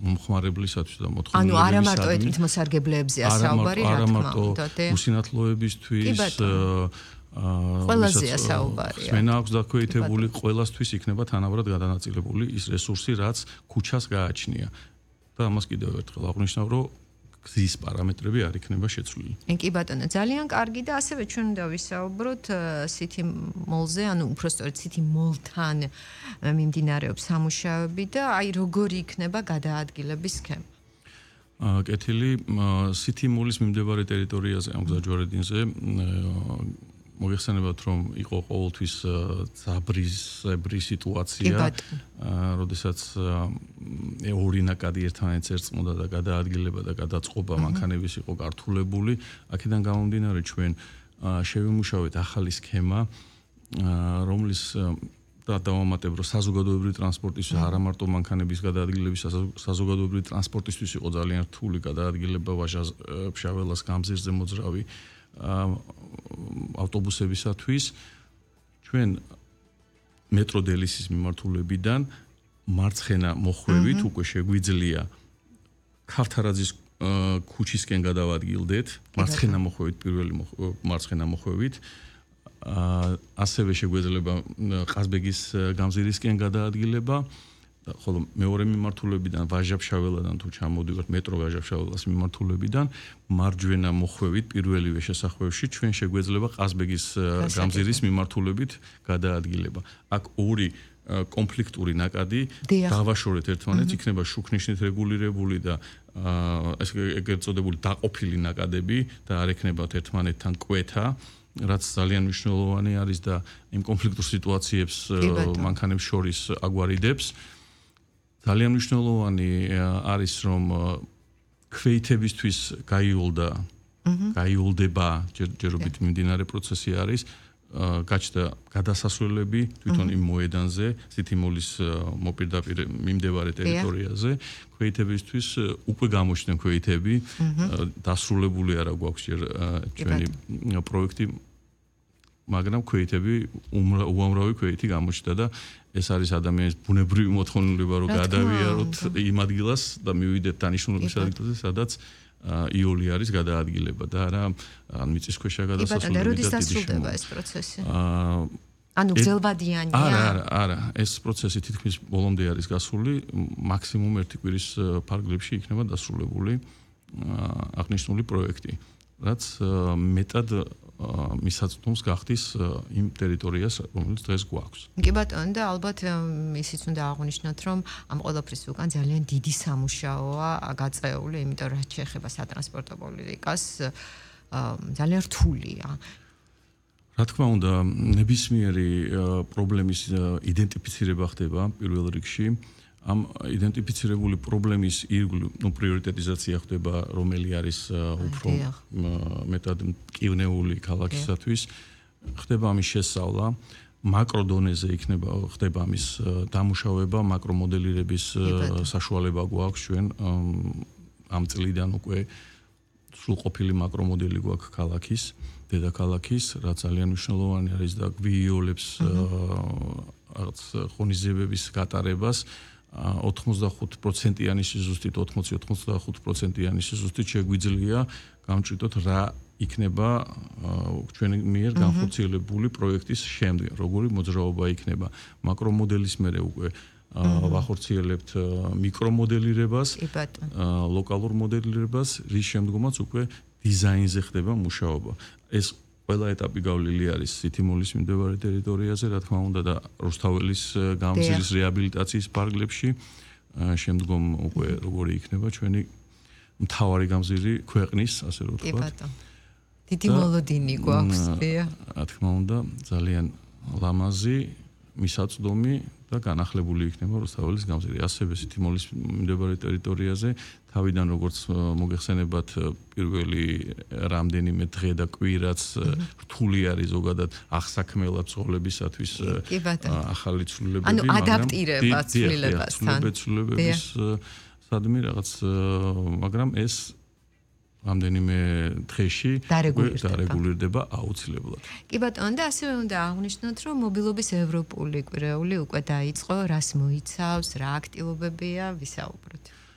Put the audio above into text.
მომხმარებლისათვის და მოთხოვნილებისათვის. ანუ არა მარტო ეთნოსარგებლეებზეა საუბარი, რა თქმა უნდა. უსინათლოებისთვის ყველაზეა საუბარი. ხმენა აქვს დაქვეითებული, ყველასთვის იქნება თანაბრად გადანაწილებული ის რესურსი, რაც ქუჩას გააჩნია. და ამას კიდევ ერთხელ აღნიშნავ, რომ გზის პარამეტრები არ იქნება შეცვლილი. კი ბატონო, ძალიან კარგი და ასევე ჩვენ უნდა ვისაუბროთ City Mall-ზე, ანუ უბრალოდ City Mall-თან მიმდინარეობს სამუშაოები და აი როგორი იქნება გადაადგილების სქემა. კეთილი City Mall-ის მიმდებარე ტერიტორიაზე ამ გზაჯვარედინზე მოგეხსენებათ, რომ იყო ყოველთვის ძაბრისებრი სიტუაცია, როდესაც ორი ნაკადი ერთმანეთს ერწყმოდა და გადაადგილება და გადაწყობა მანქანების იყო გართულებული. აქედან გამომდინარე ჩვენ შევიმუშავეთ ახალი სქემა, რომლის დავამატებ, რომ საზოგადოებრივი ტრანსპორტისთვის არა მარტო მანქანების გადაადგილების, საზოგადოებრივი ტრანსპორტისთვის იყო ძალიან რთული გადაადგილება ვაჟა-ფშაველას გამზირზე მოძრავი ავტობუსებისათვის. ჩვენ მეტრო დელისის მიმართულებიდან მარცხენა მოხვევით უკვე შეგვიძლია ქავთარაძის ქუჩისკენ გადავადგილდეთ, მარცხენა მოხვევით, პირველი მარცხენა მოხვევით. ასევე შეგვეძლება ყაზბეგის გამზირისკენ გადაადგილება, ხოლო მეორე მიმართულებიდან ვაჟა-ფშაველადან თუ ჩამოდივართ მეტრო ვაჟა-ფშაველას მიმართულებიდან მარჯვენა მოხვევით პირველივე შესახვევში ჩვენ შეგვეძლება ყაზბეგის გამზირის მიმართულებით გადაადგილება. აქ ორი კონფლიქტური ნაკადი დავაშორეთ ერთმანეთს, იქნება შუქნიშნით რეგულირებული და ეგრეთ წოდებული დაყოფილი ნაკადები და არ ექნებათ ერთმანეთთან კვეთა, რაც ძალიან მნიშვნელოვანი არის და იმ კონფლიქტურ სიტუაციებს მანქანებს შორის აგვარიდებს. ძალიან მნიშვნელოვანი არის, რომ ქვეითებისთვის გაიოლდება ჯერჯერობით მიმდინარე პროცესი არის, გაჩნდა გადასასვლელები თვითონ იმ მოედანზე, City Mall-ის მოპირდაპირ მიმდებარე ტერიტორიაზე, ქვეითებისთვის უკვე გამოჩნდნენ ქვეითები, დასრულებული არა გვაქვს ჩვენი პროექტი, მაგრამ ქვეითები უამრავი ქვეითი გამოჩნდა და ეს არის ადამიანის ბუნებრივი მოთხოვნილება, რომ გადავიაროთ იმ ადგილას და მივიდეთ დანიშნულების ადგილზე, სადაც იოლი არის გადაადგილება და არა მიწისქვეშა გადასასვლელი და როდის დასრულდება ეს პროცესი? ანუ გრძელვადიანია? არა, ეს პროცესი თითქმის ბოლომდე არის გასული, მაქსიმუმ ერთი კვირის ფარგლებში იქნება დასრულებული აღნიშნული პროექტი, რაც მეტად მისაწვდომს გახდის იმ ტერიტორიას, რომელიც დღეს გვაქვს. კი ბატონო და ალბათ ისიც უნდა აღვნიშნოთ, რომ ამ ყველაფრის უკან ძალიან დიდი სამუშაოა გაწეული, იმიტომ რომ რაც შეეხება სატრანსპორტო პოლიტიკას ძალიან რთულია. რა თქმა უნდა, ნებისმიერი პრობლემის იდენტიფიცირება ხდება პირველ რიგში. ამ იდენტიფიცირებული პრობლემის ირგვლივ პრიორიტეტიზაცია ხდება, რომელი არის უფრო მეტად მტკივნეული ქალაქისათვის. ხდება ამის შესწავლა, მაკრო დონეზე ხდება ამის დამუშავება, მაკრო მოდელირების საშუალება გვაქვს ჩვენ ამ წლიდან უკვე სრულყოფილი მაკრო მოდელი გვაქვს ქალაქის, დედაქალაქის, რაც ძალიან მნიშვნელოვანი არის და გვიოლებს რაღაც ღონისძიებების გატარებას. 85%-იანი სიზუსტით, 80-85%-იანი სიზუსტით შეგვიძლია გამჭრიდოთ რა იქნება ჩვენი მიერ განხორციელებული პროექტის შემდეგ, როგორი მოძრაობა იქნება. მაკრო მოდელის მერე უკვე ვახორციელებთ მიკრომოდელირებას, ლოკალურ მოდელირებას, რის შემდგომაც უკვე დიზაინზე ხდება მუშაობა. ეს ყველა ეტაპი გავლილი არის City Mall-ის მიმდებარე ტერიტორიაზე, რა თქმა უნდა და რუსთაველის გამზირის რეაბილიტაციის ფარგლებში, შემდგომ უკვე როგორი იქნება ჩვენი მთავარი გამზირი ქვეყნის, ასე რომ ვთქვათ. კი ბატონო. დიდი მოლოდინი გვაქვს, რა თქმა უნდა, ძალიან ლამაზი, მისაწვდომი და განახლებული იქნება რუსთაველის გამზირი. ასევე City Mall-ის მიმდებარე ტერიტორიაზე თავიდან როგორც მოგეხსენებათ პირველი რამდენიმე დღე და კვირაც რთული არის ზოგადად აღსაქმელად ცხოველებისათვის ახალი ცვლილებები, ანუ ადაპტირება ცვლილებებისთან. სადმე რაღაც, მაგრამ ეს რამდენიმე დღეში დარეგულირდება აუცილებლად. კი ბატონო და ასევე უნდა აღვნიშნოთ, რომ მობილობის ევროპული კვირეული უკვე დაიწყო, რას მოიცავს, რა აქტივობებია, ვისაუბროთ.